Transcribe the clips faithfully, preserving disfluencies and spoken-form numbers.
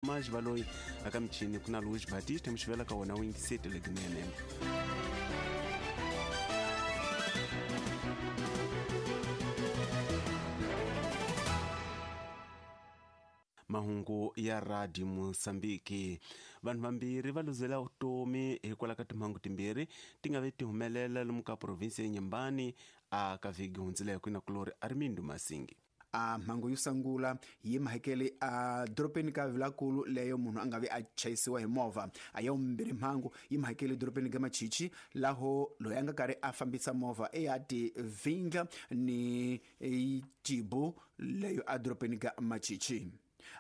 Maji Baloyi aka michini kuna Luis Batista mxivela ka wona wingisete lekinene. Mahungu ya Radio Mozambique. Vanhu vambirhi va luzela vutomi hikwalaho ka timhangu timbirhi ti nga ve ti humelela lomu ka province ya Inhambane a ka vhiki hundzileke na kulori Armindo Masingi. A mhangu yo sungula yi mahekele a doropeni ka Vilakulu leyo munhu a nga vi a chayisiwa hi movha. A ya vumbirhi mhangu yi mahekele doropeni ka Machichi laho loyi a nga karhi a fambisa movha e ya ti vindla ni tibu leyo a doropeni ka Machichi.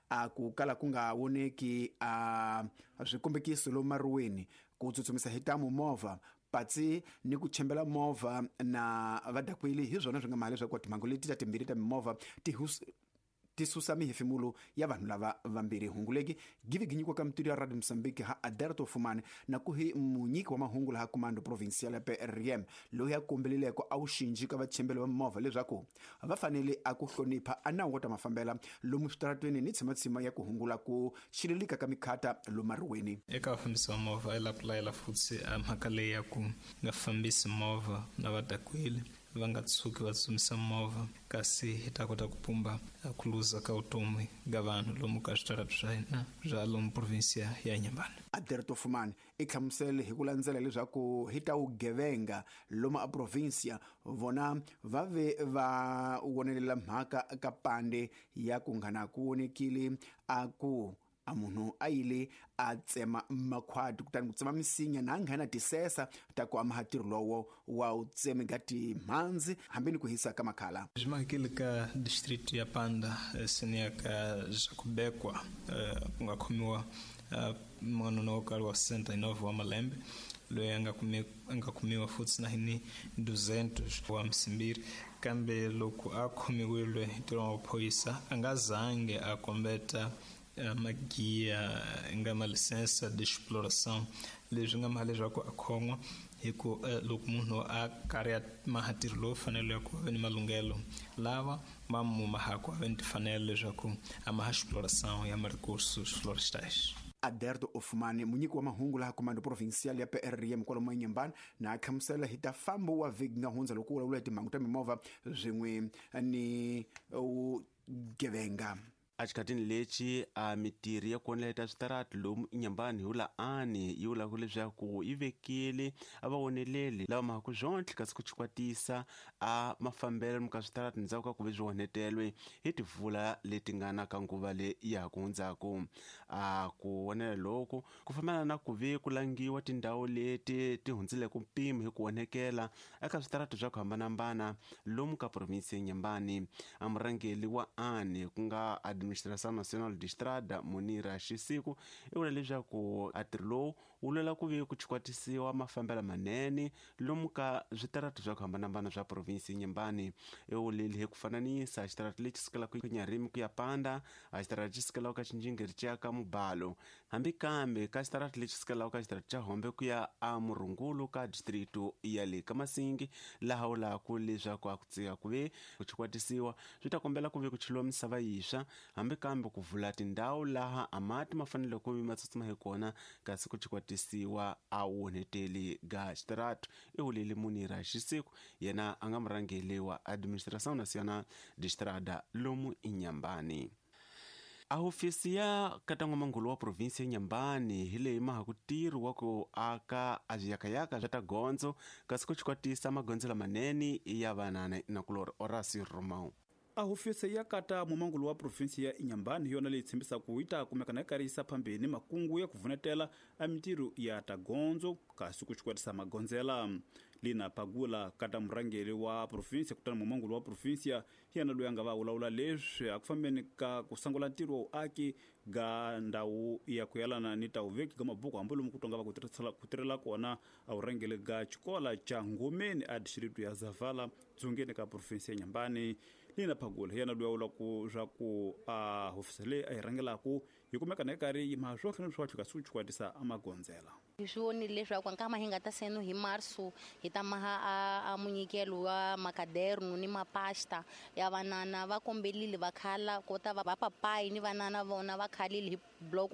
A ku kala ku nga voneki a swikombekiso lomu maruweni ku tsutsumisa hi tamu movha patsi ni ku chembela movha na vadakweli hi swona swi nga mali leswaku timhangu leti ta timbirhi ta mimovha ti ti susa mihefemulo ya vanhu lava vambirhi. Hunguleki give ginyikiwa ka mutiri ya Radio Mozambique ha Aderto Fumane na ku hi munyiki wa mahungu laha Comando Provincial ya P R M loyi a kombeleleko a wu xinji ka vachembeli va mimovha leswaku va fanele a ku hlonipha a nawu wa ta mafambela lomu switaratweni ni tshimatshima ya ku hungula ku xilelika ka mikhata lomaruweni. Eka vafambisi va movha i la ku layela futhi a mhaka leyi ya ku nga fambisi movha na vadakweli va nga tshuki va tsutsumisa movha kasi hi ta kota ku pumba ku luza ka vutomi ga vanhu lomu ka switaratu swa hina swa lomu provinsia ya Inhambane. Aderto Fumane i hlamusele hi ku landzela leswaku hi ta vugevenga lomu a provinsia vona va ve va wonelela mhaka ka pande ya ku nghana ku vonekile a ku a munhu a yile a tsema makhwati kutani ku tsema misinya na nghena tisesa ta ku amaha ntirho lowo wa u tsemeka timhandzi hambi ni ku hisa ka makhala. Swi mahekele ka district ya Panda seniya ka Jakubekwa ku nga khomiwa n'wanuna wo karhi wa sesenta e nove wa malembe loyi a nga a nga kumiwa futhi na hi duzentos wa msimbiri kambe loko a khomiwile hi ntirho wa maphorisa a nga zange a kombeta magia nga ma licença de exploração leswi nga mali leswaku a khon'wa hi ku loko munhu a karhi a maha ntirho lowu faneleke ku va ni malunghelo lava ma mumahaku a va ni timfanelo leswaku a maha exploração ya ma-recursos florestais. Aderto Ofumane munyiki wa mahungu laha Comando Provincial ya P R M kwalomu Inhambane na a hlamusela hi ta fambo wa vhiki nga hundza loko u vulavula hi timhangu ta mimovha swin'we ni vugevenga. Exikhatini lexi a mitirhi ya ku onheleta switarati lomu Inhambane hi wula ani yi vulaka leswaku yi vekile a va onheleli lava mahaku swontlhe kasi ku chikwatisa a mafambelo lomu ka switarati ndzhaku ka ku ve swi onhetelwe hi timpfula leti nga na ka nguva leyi ya ha ku hundzaku. A ku onhela loku ku fambelana na ku ve ku langiwa tindhawu leti ti hundzileke mpimo hi ku onhekela eka switarati swa ku hambanahambana lomu ka provinsi ya Inhambane. A murhangeri wa ani ku nga Administração Nacional de Estrada Munira Xisiku i vula leswaku a ntirho lowu wu lwela ku ve ku chikwatisiwa mafambelo manene lomu ka switarati swa ku hambanahambana swa provinsi ya Inhambane. I vulile hi ku fananisa xitarati lexi sukelaka Nyarimi ku ya Panda, a xitarati lexi sukelaka ka Xinjingiri xi ya ka Mubalo, hambi kambe ka xitarati lexi sukelaka ka xitarati xa Hombe ku ya a Murungulu ka distrito ya le ka Masingi, laha vulaka leswaku a ku tsika ku ve ku chikwatisiwa swi ta kombela ku ve ku cheliwa misava yintshwa hambi kambe ku vula tindhawu laha a mati ma fanele ku ma tsutsuma hi kona kasi ku chikwatisiwa a onheteli ga xitaratu. I vulile Munira Xisiku yena a nga murhangeri wa Administração Nacional de Estrada lomu Inhambane. A hofisi ya katan'wamangulu wa provinsi ya Inhambane hi leyi maha ku ntirho wa ku aka a swiyakayaka swa ta gondzo kasi ku chikwatisa magondzo lamanene ya vanana na kulori Horacio Romão. A hofisi ya kata mumangulu wa provinsi ya Inhambane hi yona leyi tshembisaka yi ta kumeka na yi karhi yisa phambeni makungu ya ku vunetela a mintirho ya ta gondzo kasi ku xikwetisa magondzela. Lina Pagula kata murhangeri wa provinsi kutani mumangulu wa provinsi hi yena loyi a nga va vulavula leswi a ku fambeni ka ku sungula ntirho wa vuaki ga ndhawu ya ku yelana ni ta vuveki ga mabuku hambi lomu ku tonga va ku tirhisela ku tirhela kona a vurhangeri ga xikola xa Ngomeni a district ya Zavala dzongeni ka provinsi ya Inhambane. Lina Pagula hi yena loyi a vulaka swa ku a hofisi leyi a yi rhangelaku yi kumeka na yi karhi yi maha swotlhe ni swotlhe kasi ku chikwatisa a magondzela. Hi swi vonile leswaku nkama hi nga ta seno hi marso hi ta maha a, a munyikelo wa makaderno ni mapasta ya vanana va kombelile va khala kota va papayi ni vanana vona va khalile hi block